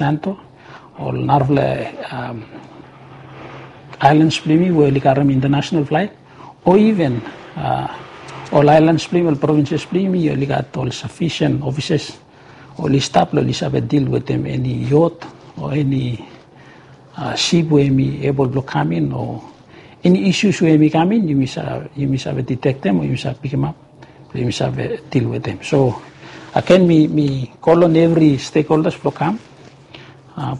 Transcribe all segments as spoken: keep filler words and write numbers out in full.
Santo, ol narafala ailans blong yumi we oli garem international flight, o even ol ailans blong yumi, ol provinses blong yumi oli gat ol sufisien ofises oli stap blong oli save dil wetem eni yot o eni sip we yumi ebol blong kam in o eni isus we yumi kam in, yumi save ditektem o yumi save pikimap blong yumi save dil wetem. So agen mi kol long evri stekholdas blong kam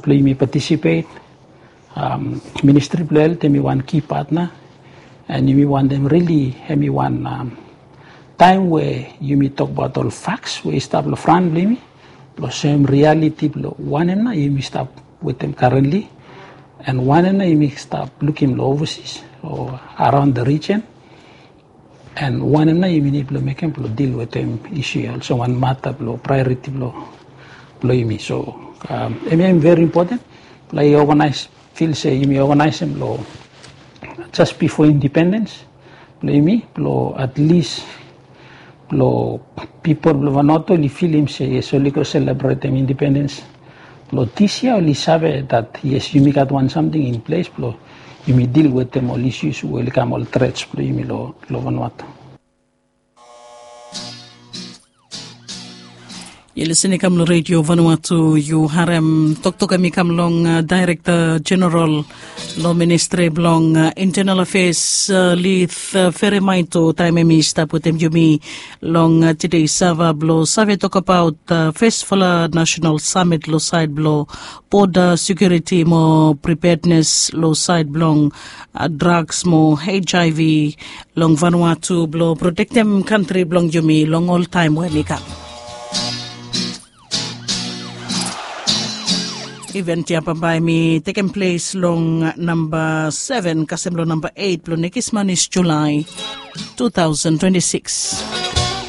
blong yumi patisipet. Ministri blong helt em i wan ki patna, en yumi wantem rili em i wan taem we yumi tokbaot ol faks we i stap long fran blong yumi blong soem rialiti blong wanem nao yumi stap wetem karenli, en wanem nao yumi stap lukim long ovasis o araon de rijen, en wanem nao yumi nid blong mekem blong dil wetem isu ya olsem wan mata blong praeoriti blong yumi. So em ya em veri impoten blong i oganaes, fil se yumi oganaesem long jes bifo indipendens blong yumi blong atlis blong pipol blong Vanuatu oli filim se yes oli go selebretem indipendens blong dis yia oli save dat yes yumi gat wan samting in ples blong yumi dil wetem ol isus we oli kam ol trets blong yumi long Vanuatu. Yu lisin i kam long redio Vanuatu, yu harem toktok em i kam long dairekta jeneral long ministri blong intenal afeas, lith feremaito taem em i stap wetem yumi long tide sava blong save tokabaot fesfala nasenal samit long saed blong boda sekiuriti mo pripednes long saed blong draks mo hiv long Vanuatu blong protektem kantri blong yumi long ol taem we mi kam. Event ya bambae mi tekem ples long namba seven kasem long namba eit blong nekis manis Julae two thousand twenty-six.